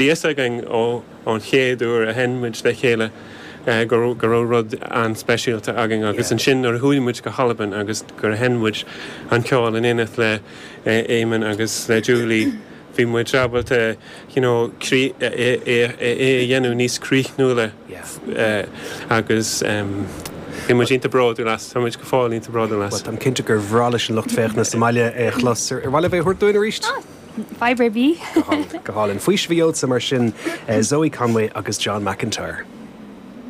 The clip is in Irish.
Fhios againn ón chéad uair a sheinn muid le chéile go raibh rud an-speisialta againn agus ansin nuair a chuaigh muid go hAlbain agus gur sheinn muid an ceol in éineacht le Éamonn agus le Julie bhí muid ábalta you know é a dhéanamh níos críochnúla agus bhí muid iontach bródúil as, tá muid go fóill iontach bródúil as. Bhuel, táim cinnte gur bhreá leis an lucht féachana sa mbaile é a chlos. Ar mhaith libh é a thabhairt dúinn arís? Fadhb ar bith. Go hálainn. Faoiseamh a gheobhadsa mar sin, Zoe Conway agus John McIntyre.